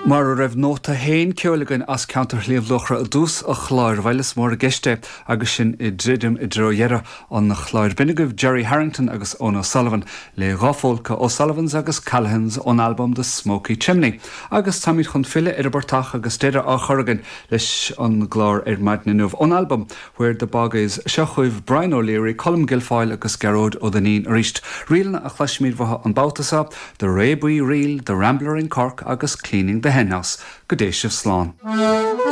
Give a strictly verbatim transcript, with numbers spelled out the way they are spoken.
Mar a raibh nóta féin ceoil againn as ceantar Shliabh Luachra i dtús an chláir bhuel is mór i gceist é agus sinn ag druidim i dtreo dheireadh an chláir. B'in agaibh Gerry Harrington agus Eoin O'Sullivan le dhá phólca O'Sullivan's agus Callahan's ón album The Smoky Chimney. Agus táimid chun filleadh ar an bportach agus deireadh á chur againn leis an gclár ar maidin inniu ón album Where the Bog Is seo chugaibh Brian O'Leary, Colm Guilfoyle agus Gearóid Ó Duinnín arís. Ríleanna a chloisfimid uathu an babhta seo, The Rébuí Reel, The Rambler in Cork agus Cleaning the Henhouse, go dté sibh slán.